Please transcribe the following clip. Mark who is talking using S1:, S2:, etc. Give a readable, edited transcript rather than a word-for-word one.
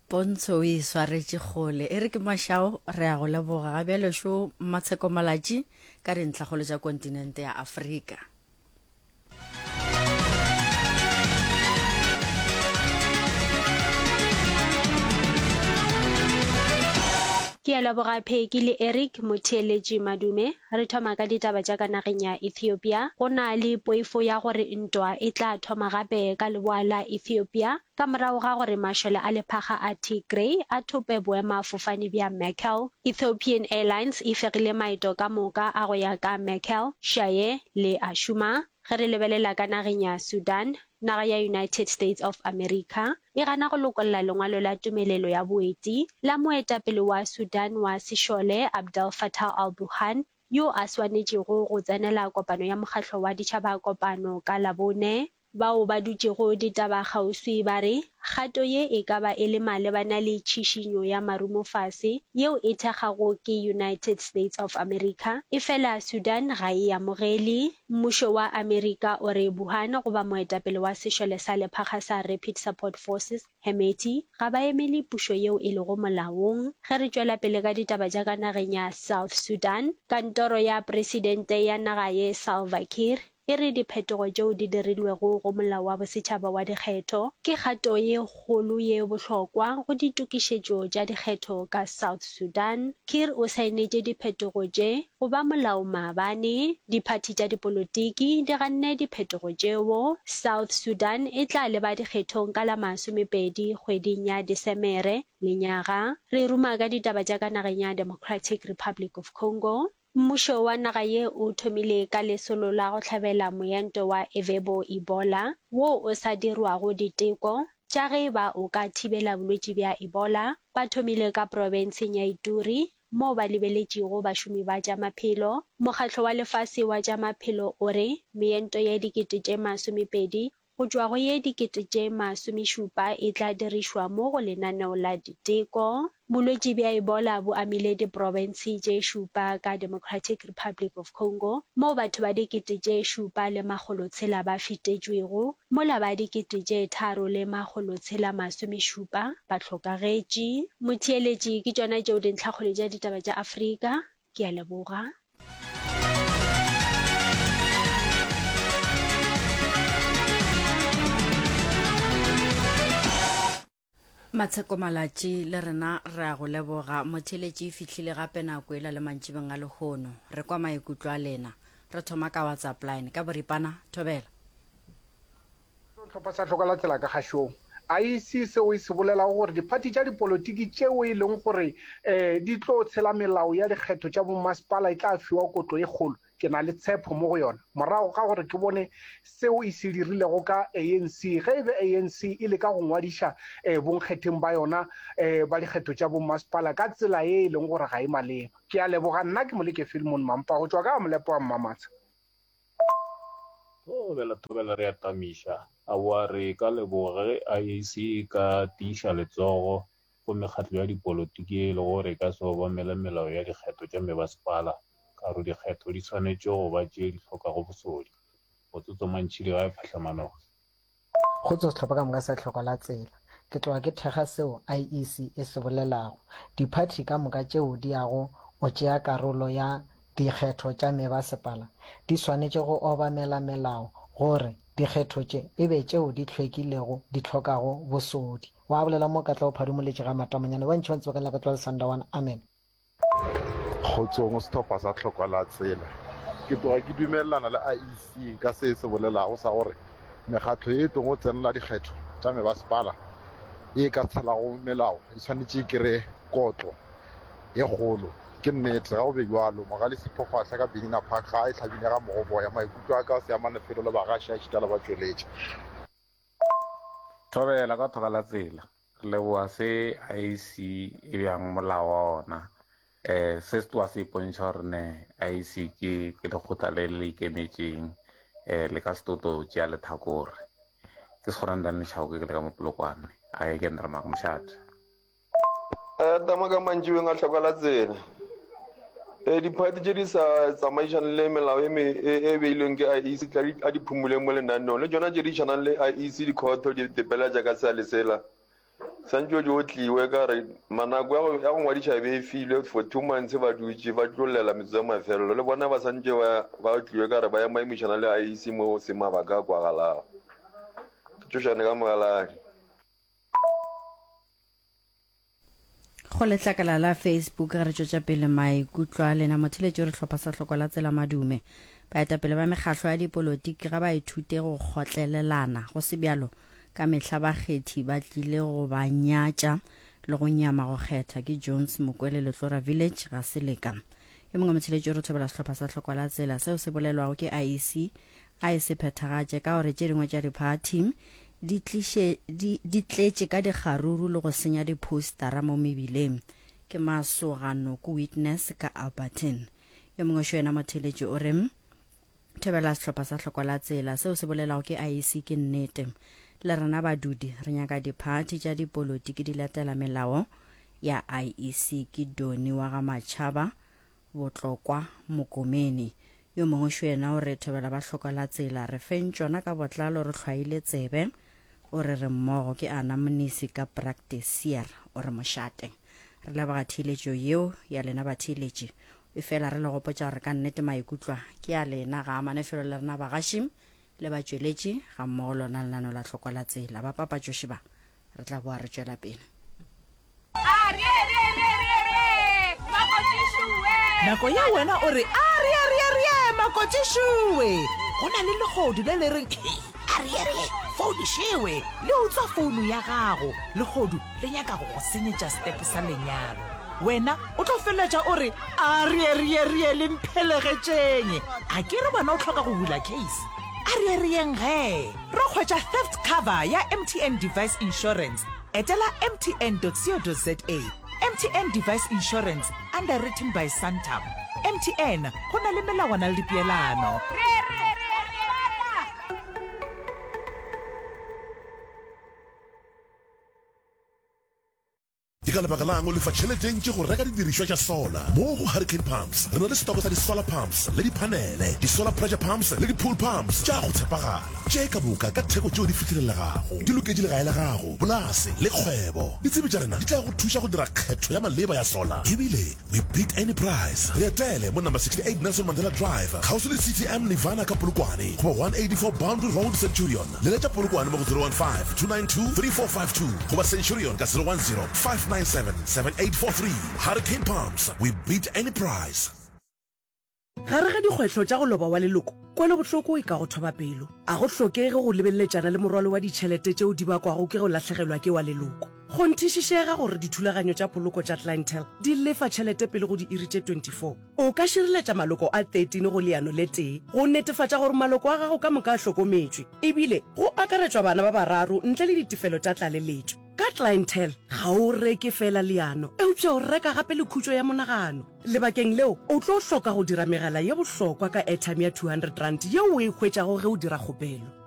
S1: Pontsho o e swaretše kgole. E re ke mašao, re a go leboga. Ga bjale šo Mmatsheko Malatji ka dintlhakgolo tša kontinente ya Afrika.
S2: Ke a leboga Peggy le Eric, motheeletši Madume. Re thoma ka ditaba tša ka nageng ya Ethiopia. Go na le poifo ya gore ntwa e tla thoma gape ka leboa la Ethiopia ka morago ga gore mašole a lephakga a Tigray a thope boemafofane bja Mekelle. Ethiopian Airlines e fegile maeto ka moka a go ya ka Mekelle, Shire le Ashuma. Ge re lebelela ka nageng ya Sudan, naga ya United States of America e gana go lokolla lengwalo la tumelelo ya boeti la moetapele wa Sudan wa sešole Abdel Fattah al-Burhan yo a swanetšego go tsenela kopano ya Mokgatlo wa Ditšhabakopano ka Labone. Bao ba dutšego ditaba kgauswi ba re kgato ye e ka ba e le malebana le tšhišinyo ya marumofase yeo e thekgago ke United States of America, efela Sudan ga e amogele. Mmušo wa Amerika o re Burhan goba moetapele wa sešole sa lephakga sa Rapid Support Forces, Hemedti, ga ba emele pušo yeo e lego molaong. Ge re tšwela pele ka ditaba tša ka nageng ya South Sudan, kantoro ya presidente ya naga ye Salva Kiir E re diphetogo tšeo di dirilwego go Molao wa Bosetšhaba wa Dikgetho ke kgato ye kgolo ye bohlokwa go ditokišetšo tša dikgetho ka South Sudan. Kiir o saenetše diphetogo tše go ba molao maabane. Diphathi tša dipolotiki di ganne diphetogo tšeo. South Sudan e tla leba dikgethong ka la masomepedi kgweding ya Desemere lenyaga. Re ruma ka ditaba tša ka nageng ya Democratic Republic of Congo. Mmušo wa naga ye o thomile ka lesolo la go hlabela moento wa Ervebo Ebola wo o sa dirwago diteko tša ge e ba o ka thibela bolwetši bja Ebola. Ba thomile ka profenseng ya Ituri moo ba lebeletšego bašomi ba tša maphelo. Mokgatlo wa Lefase wa tša Maphelo o re meento ye 20,000 Go tšwa go ye 70,000 e tla dirišwa mo go lenaneo la diteko. Bolwetši bja Ebola bo amile diprofense tše šupa ka Democratic Republic of Congo, moo batho ba 7600 ba fetetšwego, mola ba 3670 ba hlokagetše. Motheeletši, ke tšona tšeo dintlhakgolo tša ditaba tša Afrika. Ke a leboga.
S1: Matsheko Malatši le rena re a go leboga. Motheeletši e fihlile gape nako ela le mantšibeng a lehono. Re kwa maikutlo a lena. Re thoma ka WhatsApp line. Ka boripana, thobela.
S3: Sehlopha sa Hloka la Tsela ka kgašong. IEC seo e se bolelago gore diphathi tša dipolotiki tšeo e leng gore di tlo tshela melao ya dikgetho tša bommasepala e tla fiwa kotlo e kgolo. Ke na le tshepo mo go yona morago ga gore ke bone seo e se dirilego ka ANC ge e be ANC e leka go ngwadiša bonkgetheng ba yona ba dikgetho tša bommasepala ka tsela ye e leng gore ga e maleba. Ke a leboga. Nna ke Moleke Philemon Mampa go tšwa ka ga Molepo wa Mmamatsha.
S4: Thobela, thobela re a tamiša. Aowa re ka leboga ge IEC e ka tiiša letsogo go mekgatlo ya dipolotiki ye e lego gore e ka se obamele melao ya dikgetho tša mebasepala ka gore dikgetho di swanetše go ba tše di hlokago bosodi. Motsotso Mantšhidi gae Phahlamanong.
S5: Kgotso sehlopha ka moka sa Tlhoko la Tsela. Ke tloga ke thekga seo IEC e se bolelago. Diphathi ka moka tšeo di yago go tšea karolo ya dikgetho tša mebasepala di swanetše go obamela melao gore dikgetho tše e be tšeo di hlwekilego di hlokago bosodi. Wa bolela mo Katlego Phadumoletše ga Matamonyane ba ntši ba ntseba ka leina la Katlego Sandawana. Amen.
S6: Kgotsong sehlopha sa Tlhokwa la Tsela. Ke tloga ke dumelelana le IEC ka se e se bolelago sa gore mekgatlo ye e tlogo tsenela dikgetho tša mebasepala ye e ka tshelago melao e swanetše e kry-e kotlo ye kgolo. Ke nnete, ga go be bjalo. Mogale Sipho Kgwahla ka Benina Park ga a e hlabile ga mogoboya. Maikutlo a ka a se amane felo le bagaši a šita le batšweletši.
S7: Thobela ka thoka la tsela. Re leboga se IEC e bjang molao wa ona. Um se se tloga se ipontšha gore ne IEC ke ke lekgotla le le ikemetšeng um le ka se tlo tlo tšea lethakore. Ke Sekgorane Daniel Chauke ke le ka mo Polokwane. A ke nna Ramaka Mošate.
S8: Tama ka mantšiboeng a hlokwa la tsela. E, diphathi tše di sa tsamaišane le melao e, e, e beilweng ke IEC tla di, a di phumuleng mo lenaneong le tšona tše di šanang le IEC dikhotho di tepelatša ka sea le sela. Santše o di otliwe ka re ma nako ya go ya go ngwadiša e be e filwe for 2 months ba dutše ba tlo llela metsotso ya mafelelo le bona ba santše ba ba otliwe ka re ba emaemišana le IEC mo go seng mabaka a kwagalago. Ke tšošane ka mogaladi.
S1: Go letlakala la Facebook ge re tšwetša pele maikutlo a lena motheletši o re hlopha sa hloko la tsela madume. Baetapele ba mekgahlo ya dipolotiki ga ba ithute go kgotlelelana go se bjalo ka mehla bakgethi ba tlile go ba nyatša le go nyama go kgetha ke Jones Mokwele Letlora Village ga se leka. Yo mongwe motheletši o re thobela sehlopha sa hlokwa la tsela seo se bolelwago ke IEC a e se phethagatše ka gore tše dingwe tša diphathi di tliše di, di tletše ka dikgaruru le go senya diphoustara mo mebileng. Ke Masoga Noko Witness ka Alberton. Yo mongwe šo yena motheletši o re Thobela sehlopha sa hlokwa la tsela seo se bolelago ke IEC ke nnete. Le rena badudi re nyaka diphathi tša dipolotiki di latela melao ya IEC ke Doni wa ga Machaba Botlokwa Mokomeni. Yo mongwe šo yena o re thobela ba hloka la tsela re feng tšona ka botlalo re hlwaile tsebe o re re mmogo ke Ana Mnisi ka Practiceer o re mošate. Re leboga theeletšo yeo ya lena batheeletši efela re le gopotša gore ka nnete maikutlwa ke a lena ga amane felo le rena bagaši le batšweletši ga mmogo lona lenano la hlokwa la tsela ba papatšoši ba re tla boa re tšwela pele.
S9: Nako ye wena o re, Arieerierie, makotšišuwe! Go na le lehodu le le reng, Hei, arierie, founu šewe! Le utswa founu ya gago. Lehodu le nyaka go go senyetša setepe sa lenyalo. Wena o tlo feleletša o re, Arierierie, le mphelegetšeng! A ke re wena o hloka go bula case? Arierieng gee! Ro hwetša theft cover ya MTN Device Insurance. Etela mtn.co.za. MTN Device Insurance, underwritten by Santam. MTN, go na le melawana le dipeelano.
S10: Ke ka lebaka la'ng o lefa tšhelete e ntši go reka didirišwa tša solar? Mo go Hurricane Pumps re na le setoko sa di-solar pumps le diphanele, di-solar pressure pumps le di-pool pumps tša go tshepagala, tše ka moka ka theko tšeo di fihlelelegago. Di loketše legae la gago, polase le kgwebo. Ditsebi tša rena di tla go thuša go dira kgetho ya maleba ya solar ebile We beat any price. Re etele mo number 68 Nelson Mandela Drive, kgauswi le CTM Nirvana ka Polokwane, goba 184 Boundary Road, Centurion. Leletša Polokwane mo go 015 292 3452 goba Centurion ka 010 597 7843. Hurricane Pumps, we beat any price.
S9: Gare ga dikgwetlho tša go loba wa leloko, kwelobohloko e ka go thoba pelo. A go hlokege go lebeleletšana le morwalo wa ditšhelete tšeo di bakwago ke go lahlegelwa ke wa leloko. Kgonthišišega gore dithulaganyo tša poloko tša Clientele di lefa tšhelete pele go diiri tše 24. O ka šireletša maloko a 13 go leano le tee go netefatša gore maloko a gago ka moka a hlokometšwe, ebile go akaretšwa bana ba bararo ntle le ditefelo tša tlaleletšo. Ka Clientele, ga o reke feela leano, eupša o reka gape le khutšo ya monagano. Lebakeng leo, o tlo hloka go dira megala ye bohlokwa ka airtime ya R200 yeo o e hwetšago ge o dira kgopelo.